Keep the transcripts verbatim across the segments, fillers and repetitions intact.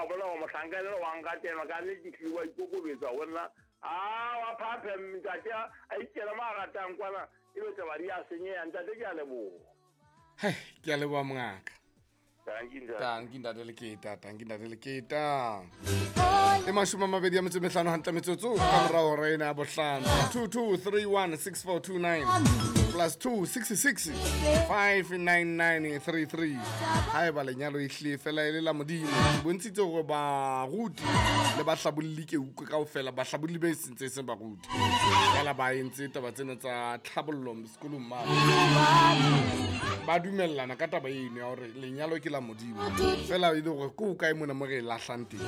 bona gore motlhanka le wa nkatela ka nnete ke wa ikokobetsa go nna a wa phaphe ntate a ikela mo a ratang kwana e be taba di a senyeha ntate ke a leboha. Hei, ke a leboha mongaka. Tanki ntate. Tanki ntate Leketa, tanki ntate Leketa. E mashome a mabedi a metso e mehlano hantle metsotso ka morao hora ena ya bohlano. two two three one six four two nine plus two six six five nine nine three three. Haeba lenyalo e hlile fela e le la Modimo, ke bontshitse hore baruti le bahlabolli ke utlwe kaofela, bahlabolli be sentse e seng baruti. Fela ba entse taba tsena tsa tlhabollo sekolong mane. Ba dumellana ka taba eno ya hore lenyalo ke la Modimo. Fela e le hore ke o kae mona mo re e lahlang teng.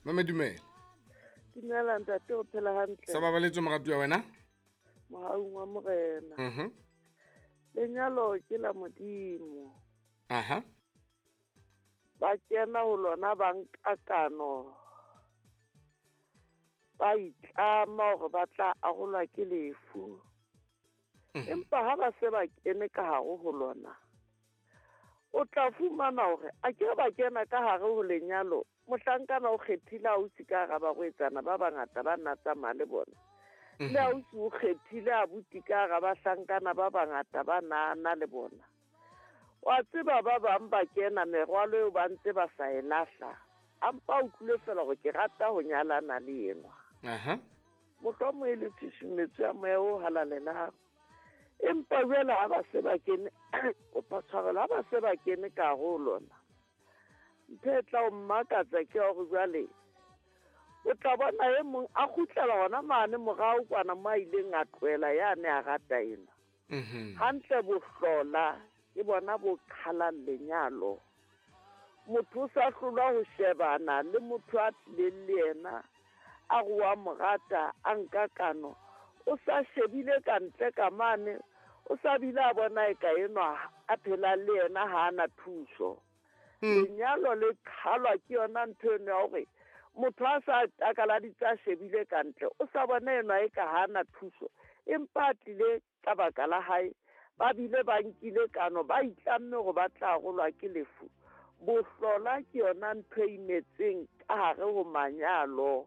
Mame dumela. Dumela ntate, o phela hantle. Sa babaletswe moratuwa wa wena? Mohaung wa Morena. Mhm. Lenyalo ke la Modimo. Aha. Ba kena ho lona ba nka kano. Ba itlama hore ba tla arolwa ke lefu. Empa ha ba se ba kene ka hare ho lona, o tla fumana hore a ke ba kena ka hare ho lenyalo, mohlankana o kgethile ausi ka hara barwetsana ba bangata ba nna tsamaya le bona. Le ausi o kgethile abuti ka hara bahlankana ba bangata ba nana le bona. Wa tseba ba bang ba kena merwalo eo ba ntse ba sa e lahla. A mpa o utlwile fela hore ke rata ho nyalana le enwa. Aha. Mohlomong e le tshusumetso ya moya o halalelang. Empa jwale ha ba se ba kene, kopa tshwarelo, ha ba se ba kene ka hare ho lona, ntho e tla o mmakatsa ke hore jwale o tla bona e mong a kgutlela hona mane morao kwana mo a ileng a tlohela yane a rata ena. Hantle bohlola ke bona bo qhalang lenyalo. Motho o sa hlolwa ho shebana le motho a tlileng le yena a re wa mo rata, a nka kano, o sa shebile ka ntle ka mane, o sa bile a bona e ka enwa a phela le yena ha ana thuso. Lenyalo le qhalwa ke yona ntho eno ya hore motho a sa takaladitse a shebile ka ntle, o sa bona enwa e ka ha ana thuso, empa a tlile ka baka la hae, ba bile ba nkile kano, ba itlamme hore ba tla arolwa ke lefu. Bohlola ke yona ntho e imetseng ka hare ho manyalo.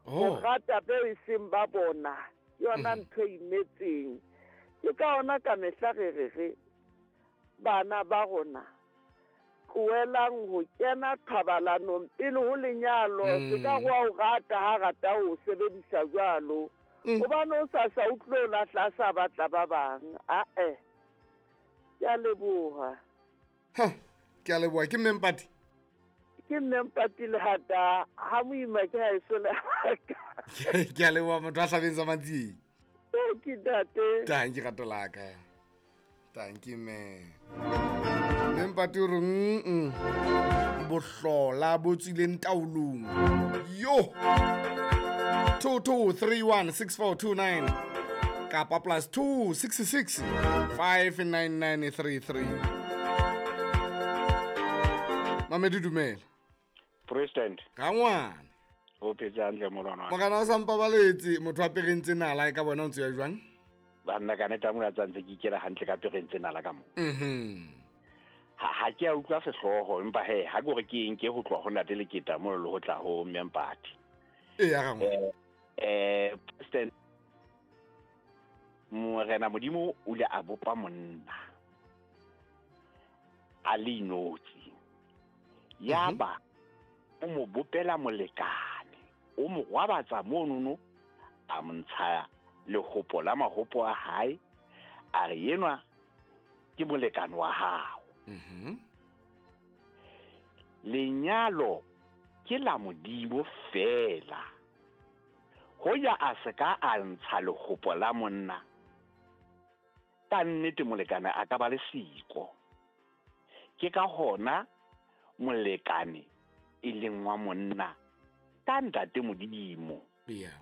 Ho rata beo e seng ba bona ke yona ntho e imetseng. Ke ka hona ka mehla re re re bana ba rona tlohelang ho kena thobalanong pele ho lenyalo. Se ka wa o rata ha rata ho sebedisa jwalo, hobane o sa sa utlwe o lahla a sa batla ba bang. Ae, ke a leboha. Ha, ke a leboha. Ke mme Mpati? Ke mme Mpati Lehata, ha moima ke ha eso lehata. Ke a leboha motho a hlabeng sa Matsieng. Ke ntate. Tanki rato la ka. Tanki mme. Mme Mpati o re mm bohlola bo tswileng taolong. Yo. two two three one six four two nine kapa plus two six six five nine nine three three. Mamedi dumela. President. Ka ngwana. O phetse hantle morwana. Morena o sa mpabaletse motho a perentse nala e ka bona o ntse ya jwang? Banna ka nete mona tsantse ke ikela hantle ka perentse nala ka mo. Mhm. Ha ha ke a utlwa sehlooho empa he ha ke hore ke eng ke ho tloha ho ntate Leketa mo le ho tla ho mme Mpati. E ya ga ngwana. Eh President Morena Modimo o ile a bopa monna a le inotsi. Yaba o mo bopela molekane, o mo gwabatsa monono, a mo ntsha lehopo la mahopo a hae, a re enwa ke molekane wa hao. Mhm. Lenyalo ke la Modimo fela. Hoja a se ka a ntsha lehopo la monna, ka nnete molekane a ka ba le siko. Ke ka hona molekane e leng wa monna ka ntate Modimo. Yeah.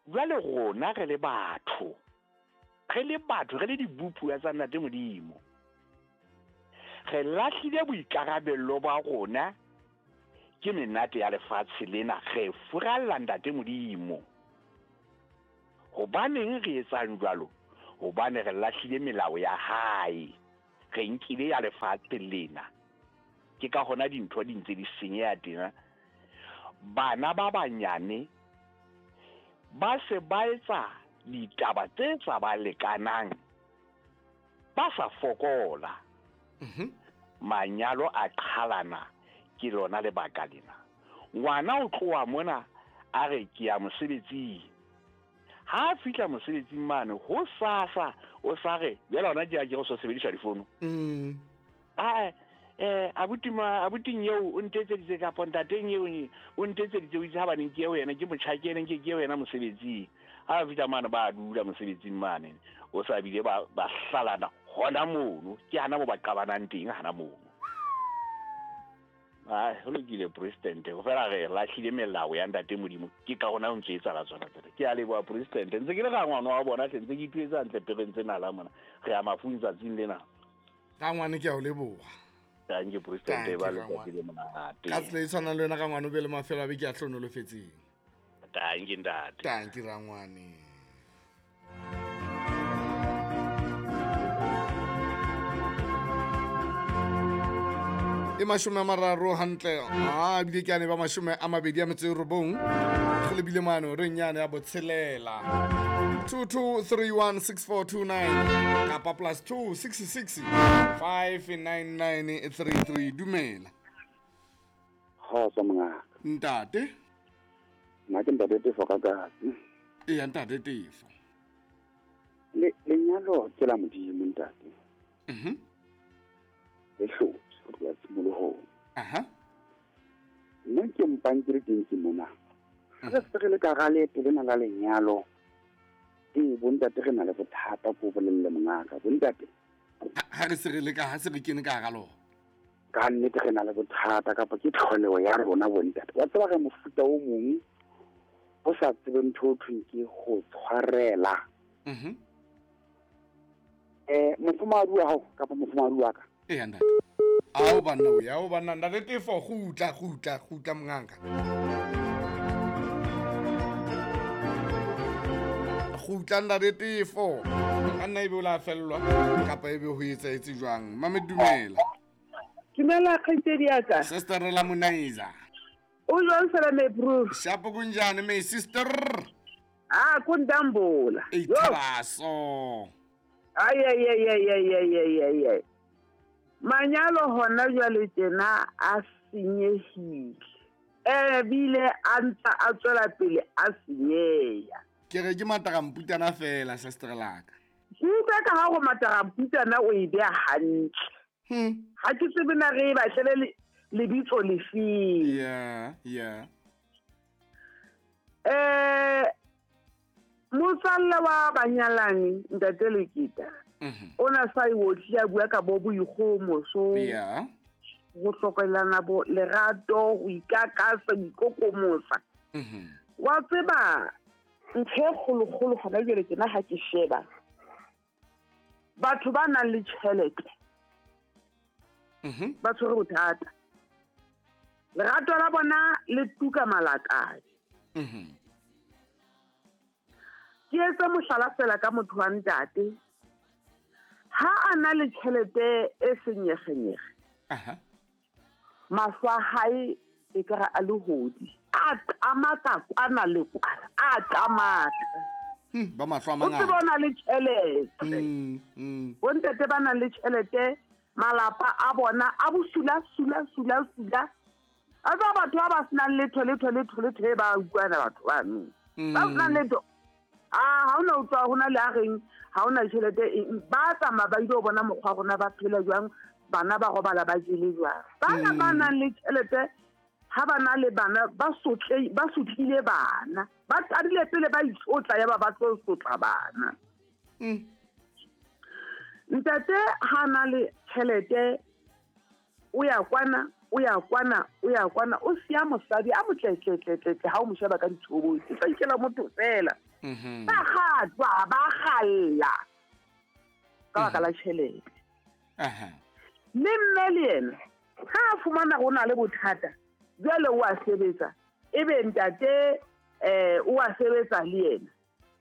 Jwale rona re le batho, re le batho, re le dibupuwa tsa ntate Modimo, re lahlile boikarabello ba rona ke menate ya lefatshe lena, re furalla ntate Modimo. Hobaneng re etsang jwalo? Hobane re lahlile melao ya hae. Re nkile ya lefatshe lena. Ke ka hona dintho di ntse di senyeha tena. Bana ba banyane ba se ba etsa ditaba tse tsa ba lekanang, ba sa fokola. Mhm. Manyalo a qhalana ke lona lebaka lena. Ngwana o tloha mona a re ke ya mosebetsing. Ha a fihla mosebetsing mane ho sasa o sa re jwale hona ke ya ke go so sebedisa difono. Mm. Ah eh abuti ma abuting eo o ntetseditse kapa ntateng eo o ntetseditse o itse ha baneng ke eo yena ke motjhakeng ke ke eo yena mosebetsing. Ha fihla mane ba dula mosebetsing mane o sa bile ba ba hlalana hona mono ke hana mo ba qabanang teng hana mono. Ah ho lokile president go fela re lahlile melao ya ntate Modimo ke ka hona o ntse etsa la tsona tsena. Ke a leboha president ntse ke le ga ngwana wa bona tle ntse ke ituetsa ntle pereng tsena la mona re ya mafung tsatsing lena. Ka ngwane ke a o leboha. Thank you president ba letsatsi le monate. Ka tsela e tshwanang le wena ka ngwane o be le mafelo a beke a hlonolofetseng. Thank you ntate. Thank you rangwane. E mashome a mararo hantle a bile ke ane ba mashome a mabedi a metso e robong re lebile mane re nyane ya botshelela two two three one six four two nine kapa plus two six six five nine nine three three. Dumela. Kgotso mongaka. Ntate. Nna ke ntate Tefo ka katsi. Eya ntate Tefo. Le lenyalo ke la Modimo ntate. Mhm. Le hlotse ho tloha tshimolohong. Aha. Nna ke mpang ke le teng ke mona. Re se re le ka hara leeto lena la lenyalo. Ee bontate re na le bothata ko bolelle mongaka bontate. Ha re se re le ka ha se re kene ka hara lona. Ka nnete re na le bothata kapa ke tlholeho ya rona bontate. Wa tseba re mofuta o mong o sa tsebeng ntho o thweng ke ho tshwarela. Mhm. Eh mofumahadi wa hao kapa mofumahadi wa ka. Eya ntate. Ao banna o ya o banna ntate Tefo kgutla kgutla kgutla mongaka. Kgutla ntate Tefo. Ka nna ebe o la fellwa kapa ebe ho etsaetse jwang. Mame dumela. Dumela kgaitsedi ya ka. Sister la Monaiza. O jwang fela me bro? Shapo kunjani me sister? Ah kundambola. Ithabaso. Ay ay ay ay ay ay ay ay. Manyalo hona jwale tjena a senyehile. Eh bile a ntsa a tswela pele a senyeha. Ke re ke mataramputana fela sister la ka. Ke utlwa ka ha go mataramputana o e beha hantle. Hmm. Ha ke tsebe na re e batlele lebitso lefeng. Yeah, yeah. Eh motswalle wa banyalani ntate Lekita. Mhm. O na sa e otli a bua ka bo boikgomoso. Yeah. Go hlokelana bo lerato, go ikakasa, go ikokomosa. Mhm. Wa tseba ntho e kgolokgolo hona jwale tjena ha ke sheba. Batho ba nang le tjhelete. Mhm. Ba tshwere bothata. Lerato la bona le tuka malakabe. Mhm. Ke etsa mohlala fela ka motho wa ntate. Ha a na le tjhelete e senyegenyege. Aha. Mahlo a hae e ka re a lehodi. A qamaka kwana le kwana. A qamaka. Hmm, ba mahlo a O mangata. tseba o na le tjhelete. Mm, mm. Bontate ba nang le tjhelete malapa a bona a bosula sula sula sula. A tsa batho ba ba senang letho letho letho letho e ba utlwana batho bano. Ba senang letho. Ah ha ona utlwa hona le a reng ha ona tjhelete eng ba tsamaya ba ile ho bona mokgwa rona ba phela jwang bana ba robala ba jele jwang. Bana ba nang le tjhelete ha ba na le bana ba sotle ba sotlile bana. Ba qadile pele ba itsotla ya ba ba tlo sotla bana. Mm. Ntate ha na le tjhelete o ya kwana o ya kwana o ya kwana o siya mosadi a motletletletle ha o mo sheba ka ditshobotsi tla ikela motho fela. Mhm. Ba kgatwa ba kgalla ka baka la tjhelete. Aha. Le mme le yena ha a fumana ho na le bothata jwale o a sebetsa ebe ntate eh o a sebetsa le yena.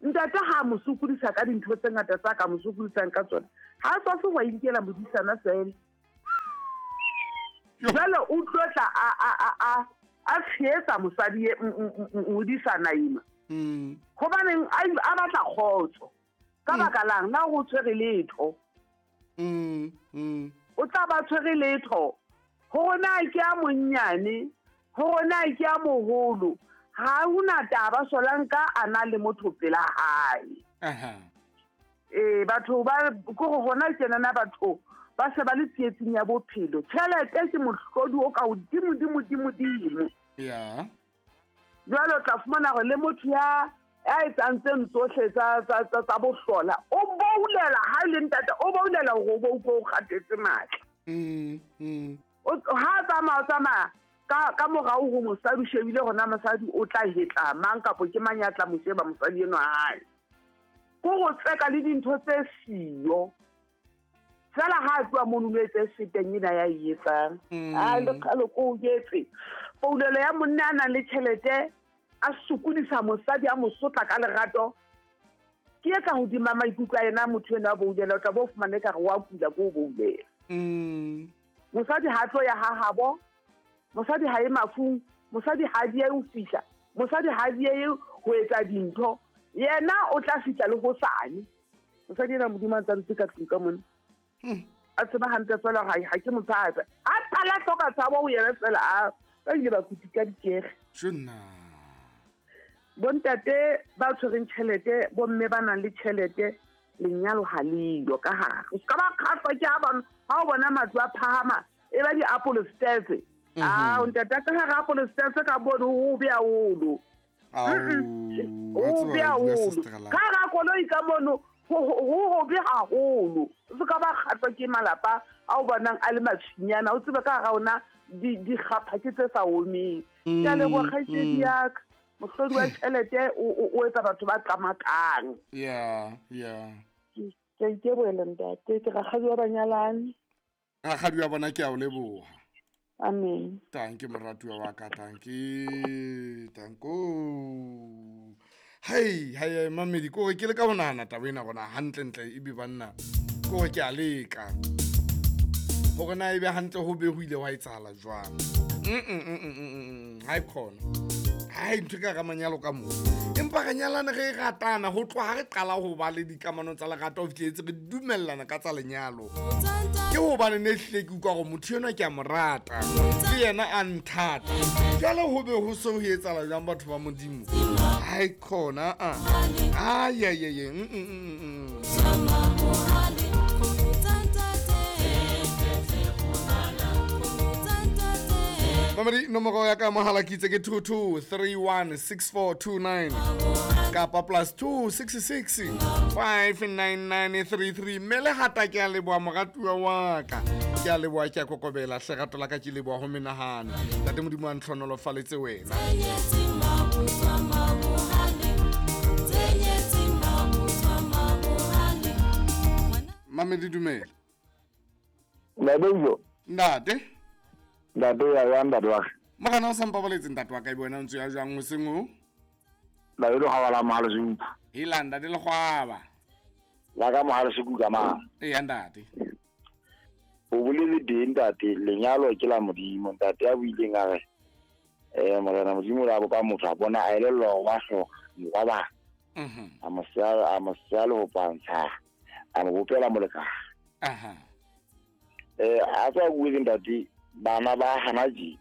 Ntate ha mo sokodisa ka dintho tse ngata tsa ka mo sokodisang ka tsona. Ha a tswafe wa inkela modisana fela. Jwale o tlo tla a a a a a tshehetsa mosadi e modisana ena. Mm. Hobaneng a a batla kgotso. Ka baka lang na o tshwere letho. Mm. Mm. O tla ba tshwere letho. Hore na ke a monnyane, hore na ke a moholo. Ha hona taba solanka a na le motho pela hae. Aha. Eh batho ba ko go hona tjena batho ba se ba le tsietsing ya bophelo. Tjhelete ke mohlodi o ka hodimo dimo dimo dimo. Yeah. Jwale o tla fumana hore le motho ya ya etsang tseno tsohle tsa tsa tsa tsa bohlola o boulela ha le ntate o boulela hore o bo utlwe o kgathetse matla. Mm. Mm. O ha tsamaya tsamaya ka ka morao ho mosadi o shebile hona mosadi o tla hetla mang kapo ke mang ya tla mo sheba mosadi enwa hae. Ko go tseka le dintho tse siyo. Fela ha tloha mono o etse seteng ena ya e etsang. A le qalo ko o jetse. Poulelo ya monna a nang le tjhelete a sokodisa mosadi a mo sotla ka lerato. Ke e ka hodima maikutlo a yena motho enwa a boulela o tla bo fumane ekare wa kula ko o boulela. Mm. Mosadi ha tlo ya ha habo. Mosadi ha e mafung, mosadi ha di ye ho fihla, mosadi ha di ye ho etsa dintho. Yena o tla fihla le hosane. Mosadi ena Modimo a ntsa ntse ka tlung ka mona. Hmm. A tseba hantle fela ha ha ke motshabe. A qala hloka tshabo ho yena fela a ba ile ba kutika dikege. Tjena. Bontate ba tshwereng tjhelete, bomme ba nang le tjhelete, lenyalo ha le yo ka hare. O ska ba kgahlwa ke ha ba ha o bona matlo a phahama e ba di-apple stairs. Ah, ntate ka hara apple stairs ka bone ho be haholo. Au. O be haholo. Ka hara koloi ka mono ho ho be haholo. O se ka ba kgahlwa ke malapa a o bonang a le matshinyana, o tsebe ka hara ona di di kgapha ke tse sa omeng. Ke a leboha kgaitsedi ya ka. Mohlodi wa tjhelete o o etsa batho ba qamakang. Yeah, yeah. Ke a itebohela ntate, ke rakgadi wa banyalani. Rakgadi wa bona ke a o leboha. Amen. Tanki moratuwa wa ka, tanki, tanko. Hei, hei, mamedi, ko re ke le ka ho nahana taba ena rona hantlentle ebe banna. Ko re ke a leka. Hore na ebe hantle ho be ho ile wa etsahala jwang. Mm mm mm mm mm. Ha e khona. Hai ntho ka ga manyalo ka mo. Empa re nyalana re ratana ho tloha re qala ho ba le dikamano tsa lerato ho fihletse re dumellana ka tsa lenyalo. Ke hobane ne hlile ke utlwa hore motho enwa ke a mo rata, le yena a nthata. Jwale ho be ho so ho etsahala jwang batho ba Modimo? Hai khona a. Ai ai ai. Mm mm mm. Mamedi nomoro ya ka mohala ke itse ke two two three one six four two nine kapa plus two six six five nine nine three three. Mme le hata ke a leboha moratuwa wa ka. Ke a leboha, ke a kokobela hle rato la ka ke leboha ho menahano. Ntate Modimo a ntlhonolofaletse wena. Mamedi dumela. Ntate. Ntate. Ntate ya ya ntate wa ka. Morena o sa mpabaletse ntate wa ka e bona o ntse ya jwang hoseng o? Ntate le hwa la mohalo sekuka. Hela ntate le kgwaba. La ka mohalo sekuka ma. Eya ntate. O bolele teng ntate, lenyalo ke la Modimo ntate ya buileng a re eh morena Modimo la bopa motho a bona a elellwa hore wa hloka morwa ba. Mhm. A mo siya a mo siya le ho pantsha. A mo bopela molekane. Aha. Eh a tswa buileng ntate bana ba hana ji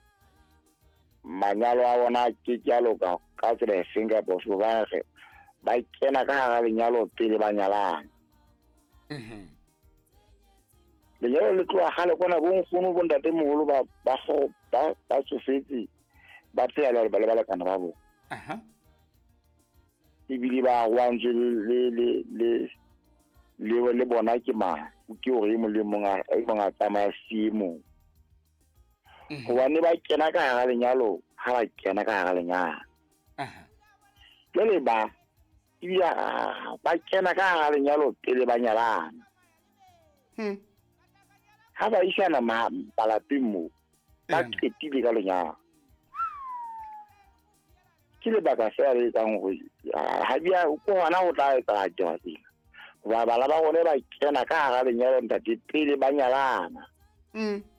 manyalo a bona ke ke a loka ka tsela e feng kapa ofe ba re ba kena ka hara lenyalo pele ba nyalana. Mhm. Lenyalo le tloha kgale kwana bo nkgono bo ntatemoholo ba ba ba ba tsofetse ba phela le ba le balekane ba bona. Aha. Ebile ba arohantswe le le le le le bona ke mang ke hore e mong le mong a e mong a tsamaya siye mong. Hobane ba kena ka hara lenyalo ha ba kena ka hara lenyalo. Aha. Jwale ba ebile ba kena ka hara lenyalo pele ba nyalana. Hmm. Ha ba isana ma malapeng moo ba qetile ka lenyalo. Ke lebaka fela le etsang hore ha bia ke hona ho tla etsahala taba tsena. Hoba bana ba rona ba kena ka hara lenyalo, ntate, pele ba nyalana. Mm.